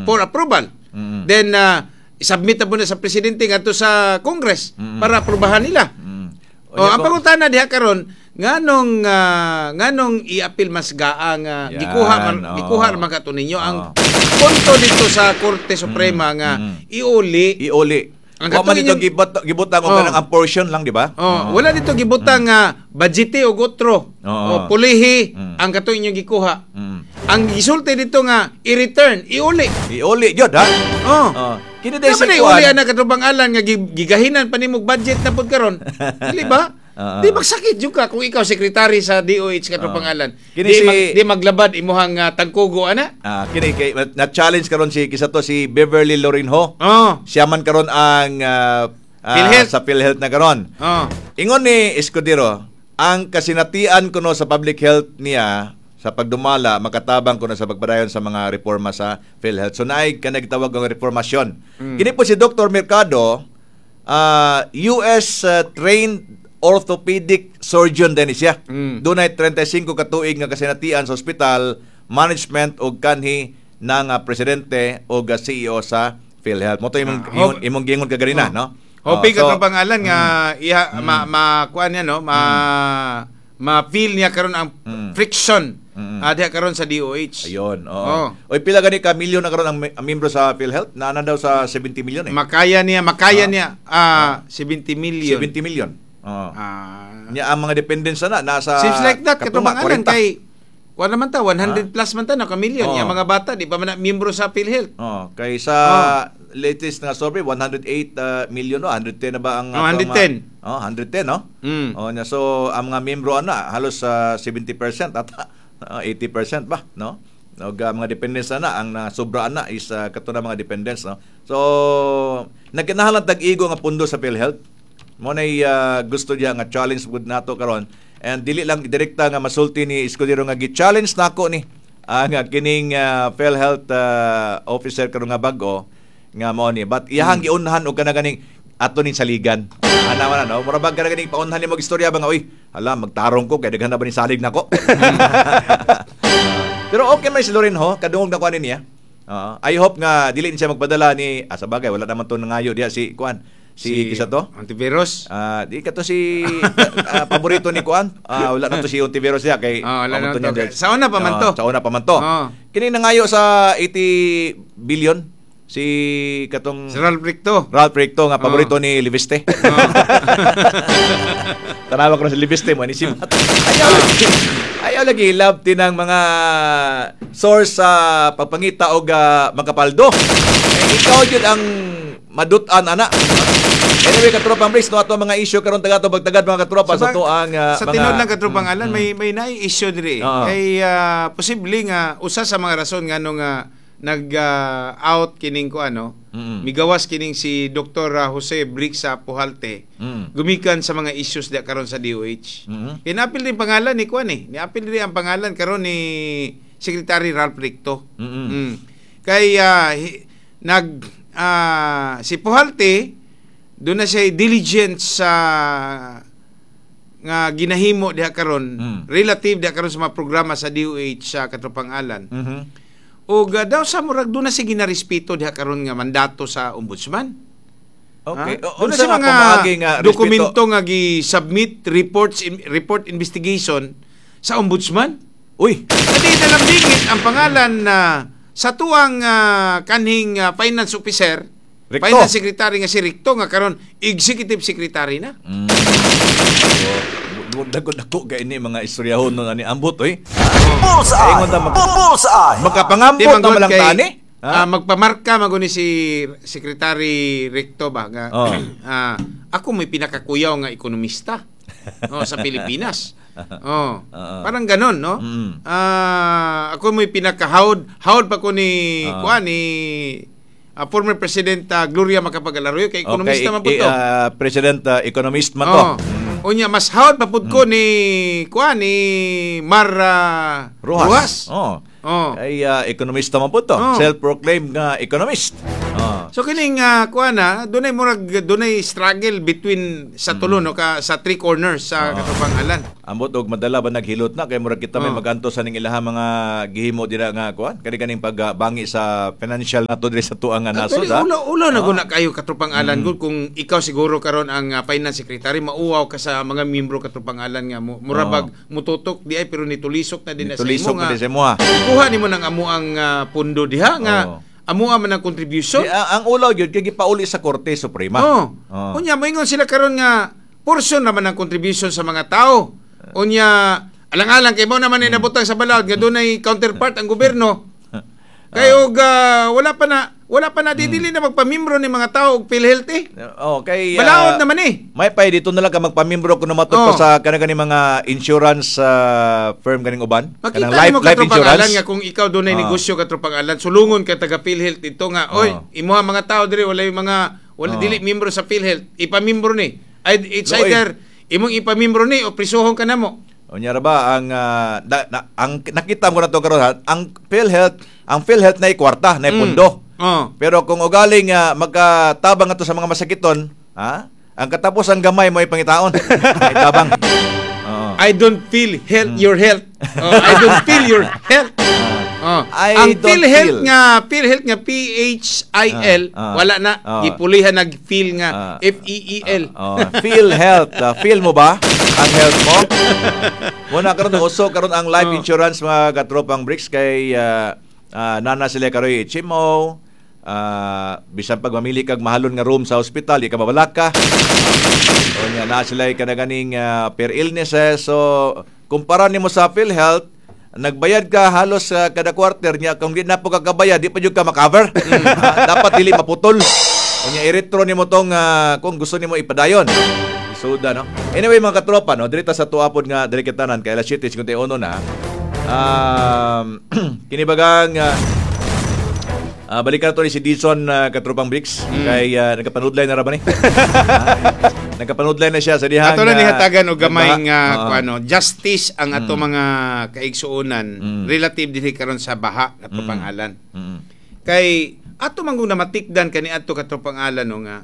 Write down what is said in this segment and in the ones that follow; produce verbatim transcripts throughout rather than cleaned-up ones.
for approval. Mm. Then uh, isubmit na po na sa presidente ngadto sa Congress Mm. para aprobahan nila. Mm. Oh, ang pangutana diha karon, nganong ah, nganong i-appeal mas G A A nga Yan, gikuha man oo. gikuha man kato ninyo ang Oo. punto dito sa Korte Suprema nga Mm. iuli? Iuli. Ang Wa man katong dito inyong- gibot gibutang og Oh. kanang ang portion lang, di ba? Oh, wala dito gibutang nga budgete og otro. Oo. O pulihi Mm. ang katong inyong gikuha. Mm. Ang gisulti dito nga i-return, iuli. Iuli gyud, ha? Oh. Oh. Kini day Dapat si na kuan. iuli ana, katubang alan, nga gi- gigahinan pa nimog budget na pud karon. Dili ba? Oo. Di magsakit jud ka kung ikaw sekretary sa D O H, katubang alan. Kini Di, si- mag, di maglabad imuhang uh, tangkugo ana. Ah, kini kay na-challenge karon si kisa to, si Beverly Lorinho. Oh. Siya man karon ang ah, ah, PhilHealth. sa PhilHealth na karon. Oh. Ingon ni Escudero, ang kasinatian kuno sa public health niya sa pagdumala makatabang kuno sa pagpadayon sa mga reforma sa PhilHealth. So naay kanang gitawag nga reformasyon. Mm. Kini po si Doctor Mercado, ah, U S ah, trained orthopedic surgeon din siya. Mm. Dunay trentay singko ka tuig nga kasinatian sa ospital, management og kanhi ng ah, presidente og ah, C E O sa PhilHealth. Mo to imong Ah, imong, hope- imong giingon kaganina, Oh. no? Hoping Oh, so- katong pangalan nga iha ma ma kuan niya, no, ma ma-feel niya karon ang Mm. friction Mm. ah, diha karon sa D O H. Ayun, oo. Oo. Oy, pila gani ka milyon na karon ang, ang membro sa PhilHealth? Naa na daw sa seventy million eh. Makaya niya, makaya Ah. niya ah seventy million. seventy million. Oo. Ah, Nya ang mga dependents na nasa seems like that katunga, katong pangalan forty. kay kuan naman ta, one hundred plus man ta na ka million. Oo. Yang mga bata di pa man na miyembro sa PhilHealth. Oh, kay sa latest nga survey, one hundred eight uh, million, no, one hundred ten na ba ang Oh, atong one hundred ten. mga- Oh, one hundred ten, no? Mm. Oh, nya so ang mga miyembro ana halos sa seventy percent ata, ah, eighty percent ba, no? Og uh, mga dependents na ang nasobra ana is uh, kato na mga dependents, no? So nagkinahanglan tag-igo nga pundo sa PhilHealth. Mo nay uh, gusto niya nga challenge gud nato karon and dili lang direkta nga masulti ni Escudero nga gi-challenge nako ni ang uh, kining uh, PhilHealth uh, officer karon nga bag-o nga mao ni, but iyahang giunhan og kana ganing ato ning saligan ana man, no? Mura bag kana ganing paunhan nimo istorya ba nga, "Uy, hala, magtarong ko kay daghan na ba ni salig nako?" Pero okay man si Lorinho, kadungog na ko ani niya. Oo. I hope nga dili ni siya magpadala ni, ah, sa bagay wala naman to nangayo diha si kuan, si, kisa to. Hontiveros. Ah, di kato si ah, paborito ni kuan. Ah, wala na to si Hontiveros siya kay Ah, wala na pamanto to. niya dahil- Sa una pa man Ah, to. Sa una pa man to. Ah. Kini nangayo sa eighty billion si katong Si Ralph Recto. Ralph Recto nga paborito Ah. ni Leviste. Tanawa ko na si Leviste mo ni si Matt. Ayaw lagi. Ayaw lagi love tinang mga source sa pagpangita og ah, makapaldo. Eh, ikaw jud ang madut-an ana. Anyway, katropang Briggs, no, ato ang mga issue karon taga to bagtagad, mga katropa, sa, to ang ah, sa mga tinuod lang, katropang alan, may may naay issue diri. Oo. Kay ah, posible nga usa sa mga rason ngano nga nag ah, out kining ko ano, Mm. migawas kining si Doctor Jose Brixa Pujalte Mm. gumikan sa mga issues diya karon sa D O H. Mm. Kinapil din pangalan ni kuan eh. Niapil din ang pangalan karon ni Secretary Ralph Recto. Mm-mm. Mm. Kay ah, hi- nag ah, si Pujalte doon na siya diligent sa nga ginahimo diha karon Mm. relative diha karon sa mga programa sa D O H sa katropang alan. Mhm. Ug ah, daw sa murag doon na siya ginarespeto diha karon nga mandato sa ombudsman. Okay. Ha? O, Doon na unsa siya nga mga pamaagi nga respeto? dokumento nga gi-submit reports in, report investigation sa ombudsman. Uy, Adi na lang bingit ang pangalan na sa tuang ah, kanhing ah, finance officer, Recto. finance secretary nga si Recto nga karon executive secretary na. Mm. So, dagko dako kay ni mga istoryahon nun ani ambot oy. Bullseye! Ingon ta mag- Bullseye! Makapangambot Di na man gud malang kay, tani. ah, magpamarka man gud ni si Secretary Recto ba nga Oh. ah, ako may pinakakuyaw nga ekonomista, oh, sa Pilipinas. Oh, Oo. parang ganon, no? Mm. Ah, ako may pinakahawd, hawd pa ko ni Ah. kuan ni ah, former President ah, Gloria Macapagal Arroyo kay ekonomista man po i- to. ah, President ah, economist man to. Oh. Unya mas hawd pa pud ko ni kuan ni Mar ah, Rojas. Rojas. Oh. Oh. Ay ah, ekonomista man po to. Oh. Self-proclaimed nga economist. Oh. So kining uh, kuan na, dunay murag dunay struggle between sa tulo no ka sa three corners sa Oh. katropang Alan. Ambot og madala ba naghilot na kay murag kita may Oh. maganto sa ning ilaha mga gihimo dira nga kuan kani kaning pagbangi sa financial nato diri sa tuang nga nasod Actually, ha. ulo ulo na Oh. guna kayo katropang Alan Mm. gud kung ikaw siguro karon ang ah, finance secretary mauwaw ka sa mga miyembro katropang Alan nga mo murabag mututok di ay pero nitulisok na din na sa imo Nitulisok nga. na din sa imo, ha. Kuha nimo ng amo ang ah, pundo diha nga Oh. amo man ang contribution. Di, ang, ang ulaw gyud kay gipauli sa Korte Suprema. Oh. Oh. Unya moingon sila karon nga portion naman ang contribution sa mga tao. Unya alang-alang kay mo naman Mm. ay nabutang sa balaod nga dunay counterpart ang gobyerno. Kay Ah. og ah, wala pa na wala pa na Mm. didili na magpamembro ni mga tao og PhilHealth eh. Oh, kay ah, Balaod naman eh. May pay dito na lang ka magpamembro kuno matud pa Oh. sa kanang kaning mga insurance ah, firm kaning uban. Makita Kanang life nimo life katropang insurance. Alan nga kung ikaw dunay Ah. negosyo katropang Alan, sulungon ka taga PhilHealth ito nga, oy, Ah. imuha mga tao diri wala yung mga wala Ah. dili membro sa PhilHealth, ipamembro ni. Ay, it's Luoy. either imong ipamembro ni o prisuhon ka namo. Unya ra ba ang ah, da- na, ang nakita mo na to karon ha, ang PhilHealth, ang PhilHealth na kwarta, na Mm. pundo. Oh. Pero kung ugaling uh, magkatabang ato sa mga masakiton, ha? Ang katapos ang gamay mo ay pangitaon. Ay tabang. Oo. I don't feel health Mm. your health. Oh, I don't feel your health. Oh. I ang don't PhilHealth feel. nga PhilHealth nga P H I L Ah, ah. wala na Ah. gipulihan nag feel nga Ah. F E E L. Oh, feel health. Ah, feel mo ba ang health mo? Muna karon uso karon ang life Oh. insurance mga katropang bricks kay ah, ah, nana sila karoy H M O. Ah, bisan pag mamili kag mahalon nga room sa ospital, di ka mabalak ka. O nya na sila kanaganing uh, per illnesses. So kumpara nimo sa PhilHealth, nagbayad ka halos sa kada quarter niya kung di na po kakabayad, di pa jud ka makover. Ah, dapat dili maputol. Unya i-retro nimo tong ah, kung gusto nimo ipadayon. Isuda no. Anyway mga katropa no, diri ta sa tuapod nga diri kitanan kay alas siyete singkwenta y uno na. Um, kini bagang ah, Ah, balikan nato ni si Dizon uh, Katropang Bricks Mm. kay uh, nagkapanudlay na ra ba ni? Ah, nagkapanudlay na siya sa dihang Ato na ah, nihatagan og gamay nagbaha. nga Oo. Mm. kuano justice ang ato mga kaigsuonan Mm. relative dinhi karon sa baha katropang Alan. Mm. Kay ato man kung namatikdan kani adto katropang Alan no nga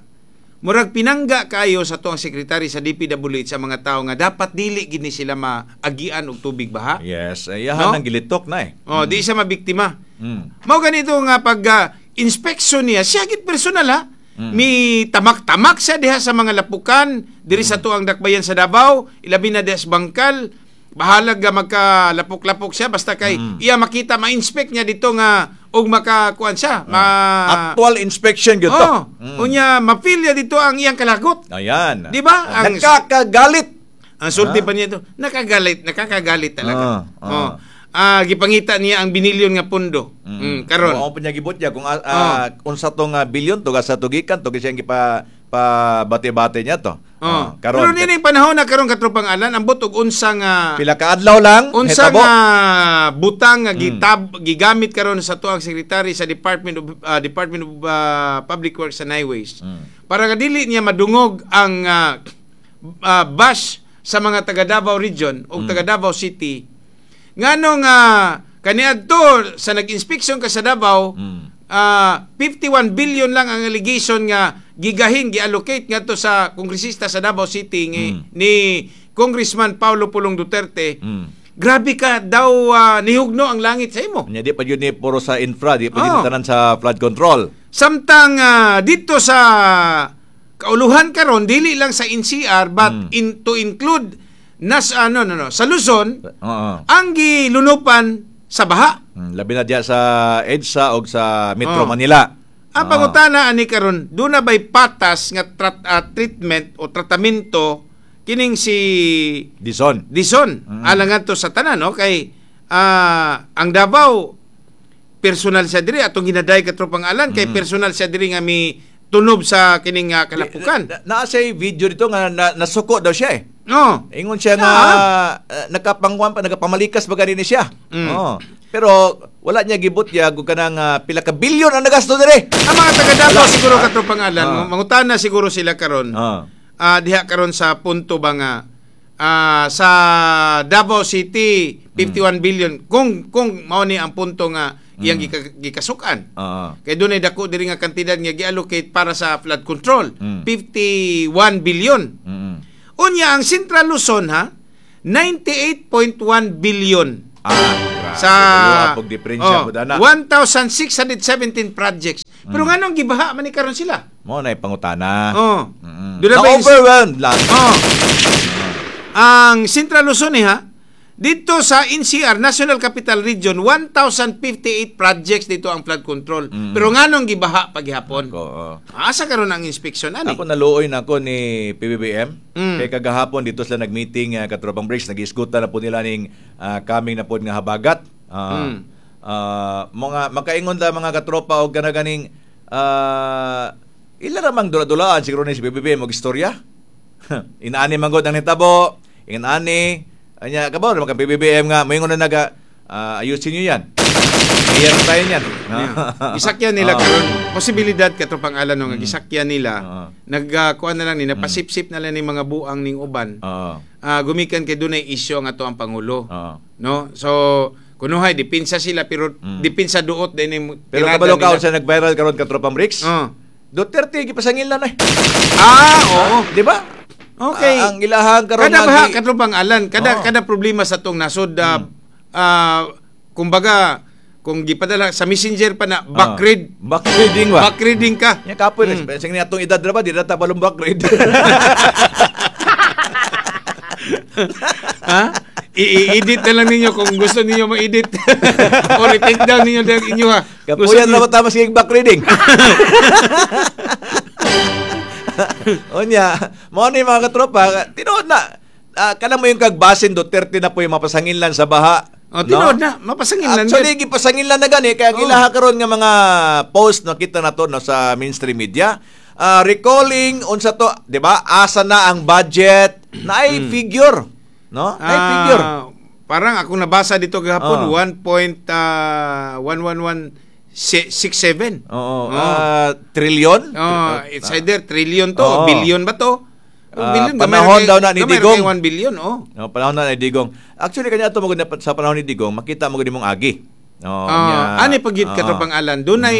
murag pinangga kayo sa tuang sekretary sa D P W H sa mga tao nga dapat dili gid ni sila maagian og tubig baha. Yes, ayahan No? ang gilitok na eh. Oh, di siya mabiktima. Mm. Mao ganito nga pag ah, inspection niya, siya gid personal ha. Mm. Mi tamak-tamak siya diha sa mga lapukan diri Mm. sa tuang dakbayan sa Davao, ilabi na diha sa Bangkal. Bahalag nga magkalapok-lapok siya basta kay Mm. iya makita ma-inspect niya dito nga og makakuan siya. Ma Actual inspection gyud to. Oh, Mm. unya ma-feel niya dito ang iyang kalagot. Ayan. Di ba? Ang- Nakakagalit. Ang sulti Ah. pa niya ito, nakagalit, nakakagalit talaga. Ah, ah. Oh. Ah, gipangita niya ang binilyon nga pundo. Mm, karon. Mao pa niya gibot niya kung ah, ah, unsa tong ah, bilyon to sa tugikan to kasi ang gipa pa bate-bate niya to. Oh. Ah, Pero karon nining panahon na karon katropang Alan, ambot og unsa nga pila ka adlaw lang unsa hitabo. nga butang nga Mm. gitab gigamit karon sa tuang secretary sa Department of ah, Department of ah, Public Works and Highways. Mm. Para nga dili niya madungog ang ah, ah, bash sa mga taga Davao Region Mm. o taga Davao City. Ngano nga kaniadto sa nag-inspection ka sa Davao, Mm. ah, fifty-one billion lang ang allegation nga gigahin giallocate ngadto sa kongresista sa Davao City ni, Mm. ni Congressman Paulo Pulong Duterte. Mm. Grabe ka daw ah, nihugno ang langit sa imo. Nya di pa jud ni puro sa infra, di pa jud Oh. ni tanan sa flood control. Samtang ah, dito sa kauluhan karon dili lang sa N C R but Mm. in to include nas ano no no sa Luzon Oo. ang gilunupan sa baha. Mm, labi na diya sa EDSA o sa Metro Oh. Manila. Ang Oo. pangutana ani karon, duna ba'y patas nga trat- ah, treatment o tratamento kining si Dizon. Dizon Mm. alang ngadto sa tanan no kay ah, ang Davao personal siya diri atong ginaday katropang alan kay Mm. personal siya diri nga mi tunob sa kining ah, kalapukan. Na, naa siya'y video dito nga na, nasuko daw siya eh. No. Ingon siya nga uh, nakapangwan pa nakapamalikas ba gani ni siya. Mm. Oo. Pero wala niya gibot niya kung kanang ah, pila ka bilyon ang nagasto diri. Ang mga taga Davao Wala. siguro katropang alan, Ah. mangutana siguro sila karon. Ah. Ah, diha karon sa punto ba nga ah, sa Davao City fifty-one billion kung kung mao ni ang punto nga Iyang gika- gikasukan. Oo. Kay dunay dako diri nga kantidad nga gi-allocate para sa flood control, Mm. fifty-one billion. Mm. Unya ang Central Luzon ha, ninety-eight point one billion Ah, grabe. sa Pag diferensya oh, po dana. one thousand six hundred seventeen projects. Pero nganong gibaha man ni karon sila? Mo na pangutana. Oh. Mm. Doon na ba yung- Na-overwhelmed lang. Oh. Ang Central Luzon eh, ha, dito sa N C R, National Capital Region, one thousand fifty-eight projects dito ang flood control. Pero nganong gibaha paghapon? Ko, oh. Asa karon ang inspection ani? Ako, naluoy na ako ni P B B M. Mm. Kay kagahapon dito sila nag-meeting, uh, katropang Briggs, nag-isgutan na po nila ning ah, kaming na po nga habagat. Ah, Mm. ah, mga makaingon la mga katropa og kana ganing ah, ila ramang dula-dulaan siguro ni si P B B M og istorya. Inaani man gud ang nitabo, inani anya kabaw naman kang P B B M nga moingon na naga ah, ayusin niyo yan. Mayor tayo niyan. Yeah. Gisakyan nila Ah. karon, posibilidad, katropang Alan, no, nga gisakyan nila Ah. nagkuan na lang ni napasipsip na lang ni mga buang ning uban. Oo. Ah, gumikan kay dunay isyu ang ato ang pangulo. Oo. No? So kunuhay dipinsa sila pero dipinsa duot din ning Mm. Pero tirada kabalo ka nila. sa nag-viral karon, katropang Bricks. Oh. Duterte gipasangil na na eh. Ah, oo. Di ba? Okay. Ah, ang ilahang karon Kada baha, nga gi- katropang Alan, kada Oo. Mm. kada problema sa tong nasod, ah, ah, kumbaga kung gipadala sa messenger pa na backread, Ah, backreading ba? Backreading ka. Nya kapoy mm. Sa ni atong edad ra ba di na ta balong backread. Ha? I-edit na lang ninyo kung gusto ninyo ma-edit. O i-take down ninyo lang inyo ha. Gusto Kapuyan ra ninyo- ba ta mas backreading? Unya, mao ni mga katropa, tinuod na. Uh, kana mo yung kagbasin Duterte na po yung mapasanginlan sa baha. Oh, tinuod na, mapasanginlan Actually, gud. gipasanginlan na gani kaya ang Oh. ilaha karon nga mga post nakita na to, no, sa mainstream media. Ah, recalling unsa to, 'di ba? Asa na ang budget? Naay figure, no? Naay Ah, figure. Parang ako nabasa dito gahapon Oh. one point one one one six seven. Oo, ah, trillion? Oh, it's either trillion to, Oo. o billion ba to? O Ah, billion, gamay panahon ra kay- daw na ni gamay ra Digong. kay one billion, oh. No, panahon na ni Digong. Actually kanya ato magud sa panahon ni Digong, makita mo gud imong agi. No, Ah, nya- ani pagit Oo. katropang Alan, dunay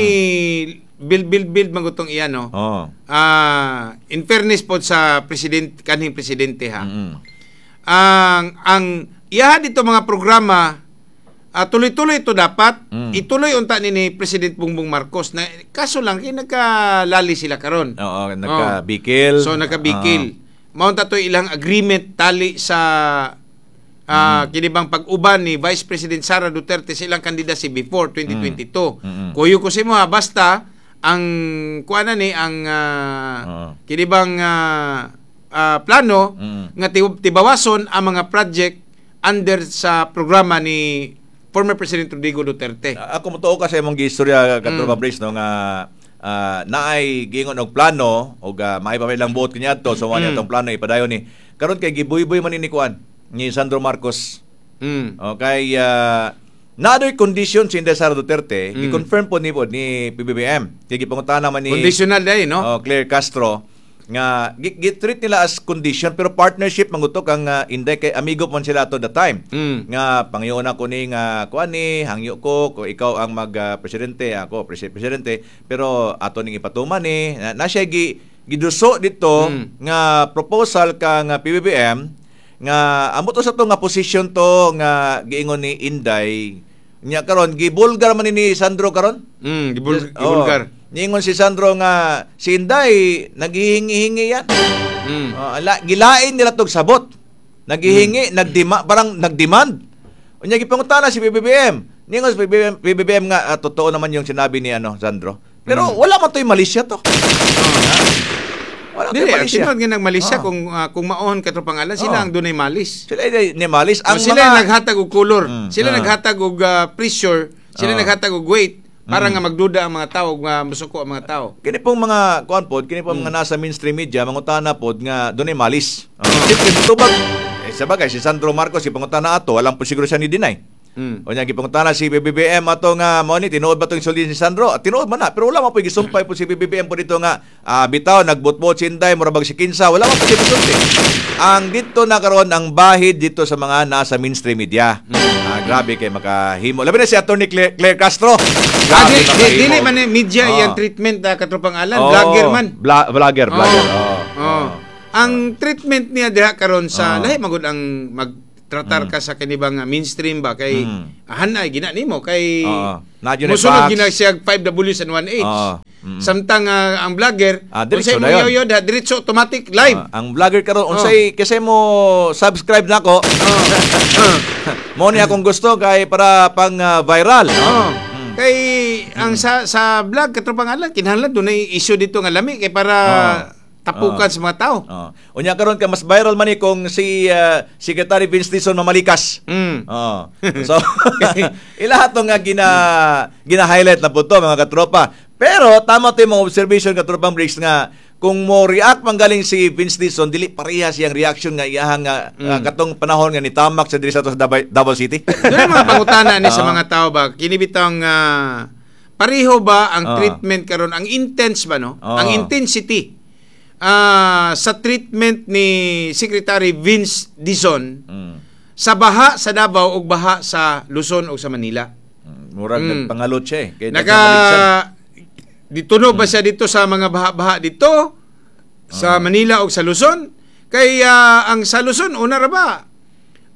build build build magutong iyan, no. Oo. Ah, in fairness po sa president kanhing presidente ha. Mm. Ang ang iyaha dito mga programa, ah, tuloy-tuloy ito dapat Mm. ituloy unta ni ni President Bongbong Marcos na kaso lang kay nagkalali sila karon. Oo, nagkabikil. So nagkabikil. Mao unta to ilang agreement tali sa ah Mm. kinibang pag-uban ni Vice President Sara Duterte sa ilang candidacy before twenty twenty-two. Mm. Kuyo ko sa imo ha, basta ang kuan na ni ang ah, Oo. kinibang ah, ah, plano Mm. nga tib- tibawason ang mga project under sa programa ni former President Rodrigo Duterte. Ah, Ako motuo ka sa imong giistorya, katropa Mm. Brace, no, nga ah, naay giingon og plano og uh, maay pa may ilang buot kaniadto, so mm. Mm. atong plano ipadayon ni karon kay gibuyboy man ni ni kuan ni Sandro Marcos. Mm. Okay, uh, na condition si Inday Sara Duterte, Mm. gi-confirm po ni po ni P B B M. Kay gipangutana man ni Conditional dai, no? Oh, Claire Castro nga gi- gi-treat nila as condition pero partnership mangutok ang uh, Inday kay amigo man sila ato the time. Mm. Nga pangyoon ako ni nga kuan ni hangyo ko ko ikaw ang mag ah, presidente, ako presi- presidente, pero ato ning ipatuman ni na, na siya gi giduso dito Mm. nga proposal kang ah, P B B M nga amo to sa to nga position to nga giingon ni Inday nya karon gibulgar man ni ni Sandro karon. Mm, gibul- Yes, gibulgar. oo. Niingon si Sandro nga si Inday naghihingi-hingi yan. Mm. Oh, ala, gilain nila tog sabot. Naghihingi, nagdima, parang nagdemand. Unya gipangutana si P B B M. Niingon si P B B M, P B B M nga ah, totoo naman yung sinabi ni ano Sandro. Pero wala man to'y malisya to. Wala to'y Dili, ang malisya. tinuod nga nagmalisya Ah. kung ah, kung maon katropang Alan, sila Oo. ang dunay malis. Sila ay ni malis Ang ang sila mga naghatag og color, Mm, sila ah. naghatag og ah, pressure, sila Ah. naghatag og weight para nga magduda ang mga tao nga musuko ang mga tao. Kini pong mga kuan pod, kini pong mga nasa mainstream media mangutana pod nga dunay malis. Oh. Siyempre mutubag eh, sa bagay si Sandro Marcos ipangutana ato, alam po siguro siya ni deny. Mm. Unya gipangutana si P B B M ato nga mao ni tinuod ba tong sulti ni Sandro? Ah, tinuod man na, pero wala man po gisumpay po si P B B M po dito nga ah, bitaw nagbotbot si Inday mura bag si Kinsa, wala man po siya gisulti. Ang dito na karon ang bahid dito sa mga nasa mainstream media. Ah, grabe kay makahimo. Labi na si Attorney Claire, Claire Castro. Ah, Grabe di, di, makahimo. dili man eh, media Ah. iyang treatment uh, katropang Alan, Oo, vlogger man. Bla- vlogger, vlogger. Oo. Oo. Oo. Ang treatment niya diha karon sa Oo. lahi magud ang magtratar ka sa kanibang uh, mainstream ba kay Mm. hanay gina nimo kay Oo. Na yun ay musunod facts. gina siya five W's and one H. Oo. Mm. Samtang ah, ang vlogger, Ah, diretso unsay na mo yun. yoyo diha, diretso automatic live. Ah, ang vlogger karon unsay kasi mo subscribe nako. Oh. Mo ni akong gusto kay para pang ah, viral, no? Oo. Kay ang sa sa vlog, katropang Alan, kinahanglan dunay issue dito nga lami kay para Oo. tapukan sa mga tao. Oh. Unya karon ka mas viral man ni kung si ah, Secretary Vince Dizon mamalikas. Mm. Oo. So, ilahat to nga gina gina-highlight na po to mga katropa. Pero tama to yung mga observation, katropang Briggs, nga kung mo react man galing si Vince Dizon, dili pareha siyang reaction nga iyahang nga ah, katong panahon nga nitamak sa diri sa ato sa Davao, Davao City. Doon ang mga pangutana ni sa Oo. mga tao ba, kini bitang ah, pareho ba ang Oo. treatment karon, ang intense ba, no? Oo. Ang intensity ah, sa treatment ni Secretary Vince Dizon Mm. sa baha sa Davao ug baha sa Luzon ug sa Manila. Mm, Murag Mm. nagpangalot siya eh. Kay Naka nagkamaligsan. dito no ba siya dito sa mga baha-baha dito sa Manila ug sa Luzon? Kay ah, ang sa Luzon una ra ba?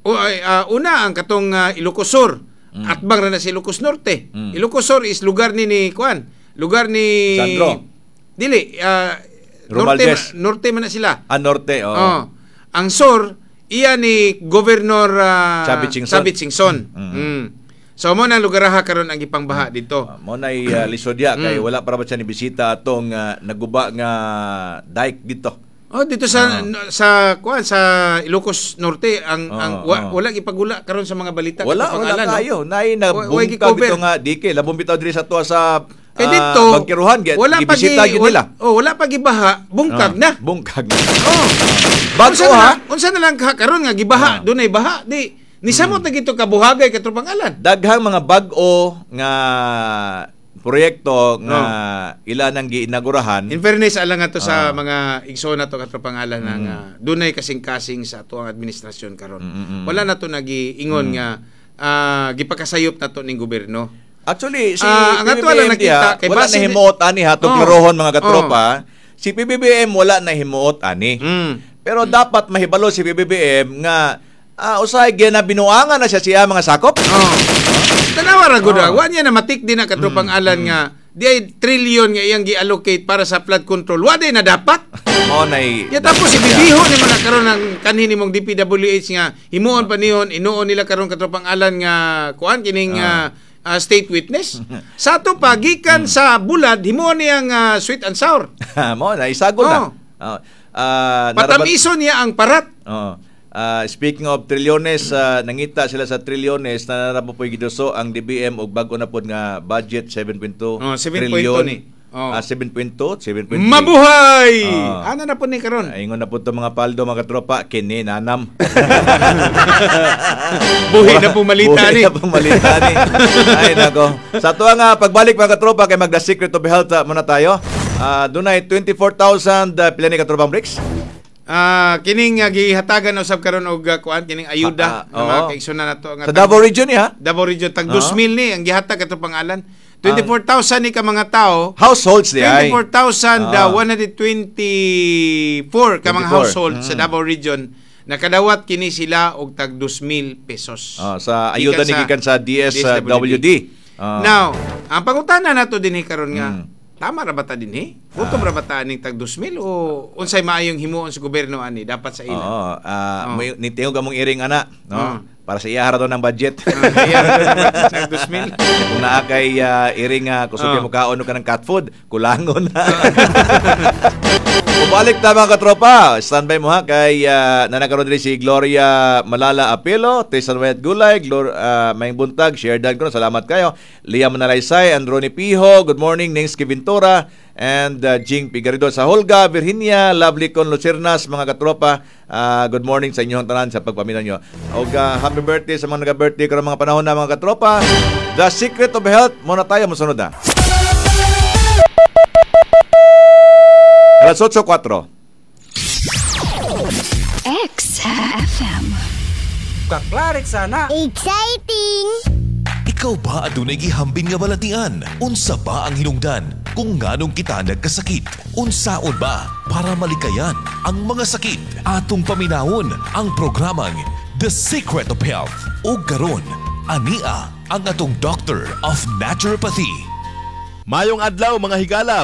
O, ay, ah, una ang katong ah, Ilocos Sur. Atbang ra na sa Ilocos Norte. Mm. Ilocos Sur is lugar ni ni kuan, lugar ni Sandro. Dili, ah, norte Romualdez. norte man na sila. Ah, Norte, oo. Oh. Ang Sur iya ni Governor ah, Chavit Singson. Chavit Singson. Mm. Mm. So mo na lugar karon ang gipangbaha dito. Ah, mo na uh, lisod ya kay Mm. wala para ba siya ni bisita atong ah, naguba nga dike dito. Oh, dito sa no, sa kuan sa Ilocos Norte ang Oo, ang wa, oo. wala gipagula karon sa mga balita Wala, katong wala pangalan, no? kayo. Nay na Wa- way bungkag gi-cover. dito nga dike labong bitaw diri sa tuwa sa Kay ah, dito Bangkiruhan gi- wala pa gibisita gi, gyud wala, nila. oh, wala pa gibaha, bungkag Ah, na. Bungkag na. Oh. Bago Unsa na ha. lang, unsa na lang ka karon nga gibaha, Ah. dunay baha, di nisamot na gito kabuhagay katong pangalan. Daghang mga bag-o nga proyekto nga ila nang giinaugurahan. In fairness alang nga to Ah. sa mga igsoon nato katropang-alan na nga dunay kasing-kasing sa atuang administrasyon karon. Mm, mm, mm. Wala na to nagiingon nga ah, gipakasayop na to ning gobyerno. Actually, si Ah, ang ato lang P B B M diha, nakita, kay wala base na himuot ani ha, itong Oh. klarohon mga katropa. Si P B B M wala na himuot ani. Mm. Pero dapat mahibalo si P B B M nga ah, usahay na binuangan na siya siya mga sakop. Oh. Tanawa ra gud Oh. ah. Wa niya na matik din na katropang alan nga di ay trillion nga iyang gi-allocate para sa flood control. Wa day na dapat. Mao nay Ya tapos ibibiho ni mo na karon ang kanhi nimong D P W H nga himuon pa nihon inuon nila karon katropang alan nga kuan kining ah, ah, state witness. Sa ato pa gikan sa bulad himuon niya nga sweet and sour. Mao na isagol na. Oh. Ah, ah, narabat- Patamiso niya ang parat. Oo. Ah, speaking of trilyones, ah, nangita sila sa trilyones na narabo po'y giduso ang D B M og bag-o na pod nga budget seven point two Oh, seven point two trillion. ni. Oh. Ah, seven point two, seven point three. Mabuhay! Ah. Ana na po ni karon. Ingon na po ito mga paldo, mga katropa, kini nanam. Buhi na pumalita Buhi ni. na pumalita ni. Ay nako. Sa tuwa nga pagbalik mga katropa kay magda Secret of Health ah, muna tayo. Ah, dunay twenty-four thousand uh, pila ni katropang Bricks? Ah, kining uh, gihatagan usab karon og uh, kuan kining ayuda Ah, ah, nga mga oo. kaigsoon nato nga Sa Davao Region ni ha. Davao Region tag Oo. two thousand ni ang gihatag ato pangalan. twenty-four thousand ni ka mga tao. Households di ay. twenty-four thousand one hundred twenty-four ka mga twenty-four. household sa Mm. Davao Region nakadawat kini sila og tag two thousand pesos. Ah, sa ayuda ni gikan sa D S W D. Ah. Now, ang pangutana nato dinhi karon nga Mm. tama ra ba ta dinhi? Gutom ra ba ta aning tag two thousand o unsay maayong himuon sa gobyerno ani dapat sa ila? Oo, ah, Oo. mo- nitingog among iring ana, no? Oo. Para sa iya ra daw ng budget. Ah, iya ra daw ng two thousand. Kung naa kay ah, iring uh, kusog Oo. mo kaon ka ng cat food, kulangon na. Bumalik ta, mga katropa. Standby mo ha kay uh, nanakaroon diri si Gloria Malala Apelo, Tristan Wayat Gulay, Glor, uh, Maayong buntag, share dan ko. Salamat kayo. Liam Manalaysay, Androni Piho, good morning, Ningsky Ventura, and uh, Jing Pigarido sa Holga, Virginia, Lovely Con Lucernas, mga katropa. Uh, good morning sa inyong tanan sa pagpaminaw nyo. Og uh, happy birthday sa mga nag-birthday karong mga panahon na, mga katropa. The Secret of Health, muna tayo, musunod na. Alas otso kuwatro. X F M. Kaklarik sana. Exciting! Ikaw ba adunay gihambin nga balatian? Unsa ba ang hinungdan kung nganong kita nagkasakit? Unsaon ba para malikayan ang mga sakit? Atong paminawon ang programang The Secret of Health. O karon, ania ang atong Doctor of Naturopathy. Maayong adlaw, mga higala.